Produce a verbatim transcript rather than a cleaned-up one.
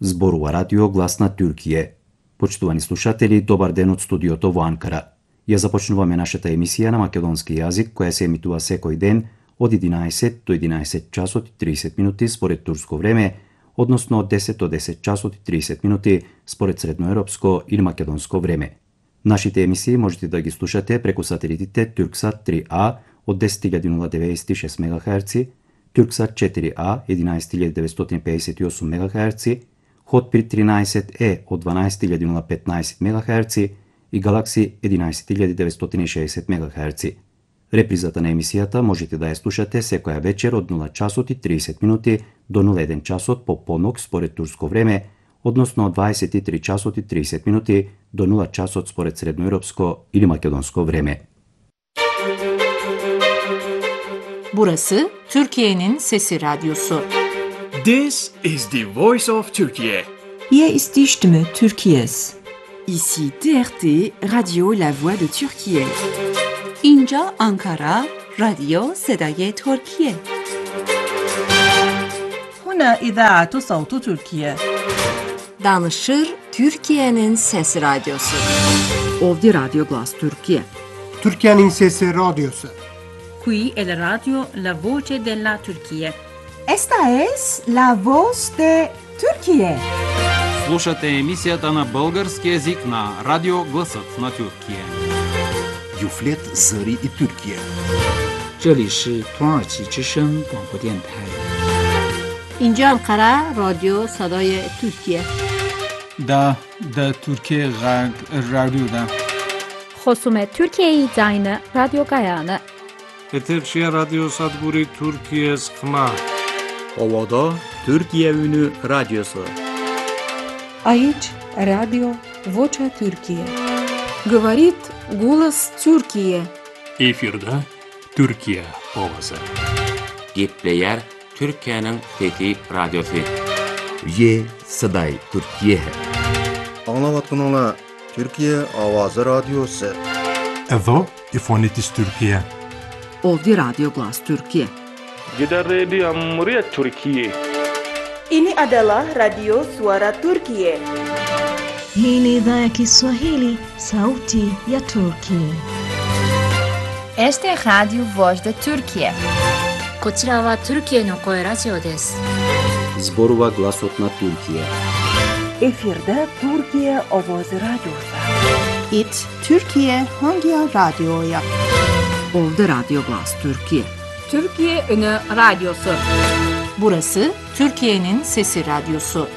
Зборува радио Глас на Туркија. Почитувани слушатели, добар ден од студиото во Анкара. Ја започнуваме нашата емисија на македонски јазик, која се емитува секој ден од единаесет до единаесет часот и тридесет минути според турско време, односно од десет до десет часот и тридесет минути според средноевропско или македонско време. Нашите емисии можете да ги слушате преку сателитите Турксат три А од десет илјади деветстотини и шест мегахерци, Турксат четири А единаесет илјади деветстотини пеесет и осум мегахерци, Хотбирд тринаесет Е од дванаесет илјади петнаесет мегахерци и Галакси единаесет илјади деветстотини и шеесет мегахерци. Репризата на емисијата можете да ја слушате секоја вечер од нула часот и тридесет минути до нула еден часот по понок според турско време, односно од дваесет и три часот и тридесет минути до нула часот според средноевропско или македонско време. Burası Türkiye'nin Sesi Radyosu. This is the voice of Turkey. Hier ist die Stimme Türkiye's. Ici T R T, Radio La Voix de Türkiye. اینجا آنکارا، رادیو صدای ترکیه. هنا إذاعة صوت تركيا. Danışır Türkiye'nin Sesi Radyosu. Ovdje Radio Glas Türkiye. Türkiye'nin Sesi Radyosu. Qui è la radio La Voce della Turchia. Esta es la voz de Turquía. Слушате емисијата на български език на Радио Гласът на Туркия. Юфлет Зари и Туркия. 这里是土耳其之声广播电台。 اینجا انقره رادیو صدای ترکیه. دا دا ترکیه غرب رادیو دا. خصوم ترکیه داینه رادیو گایانه. Eterçiye Radyo Sadguri Türkiye Skma. Ovada Türkiye Ünü Radyosu. Aici Radio Vocea Türkiye. Говорит голос Türkiye. Efirde Türkiye ovası. Gepleyer Türkiye'nin Fethi Radyosu. Ye Saday Türkiye. Anlavatın Türkiye Avazı Radyosu. Evo İfonitis Türkiye. Ovdje Radio Glas Türkiye. Kita Radio Muria Türkiye. Ini adalah Radio Suara Turkiye. Hii ni idhaa ya Kiswahili, sauti ya Turkiye. Este é Radio Voz da Turkiye. こちらはトルキエの声ラジオです。 Зборува гласот на Туркија. Efirde Türkiye Ovozi Radyosu. It Türkiye hangi radyoya? Ovdje Radio Glas Türkiye. Türkiye Ünü Radyosu. Burası Türkiye'nin Sesi Radyosu.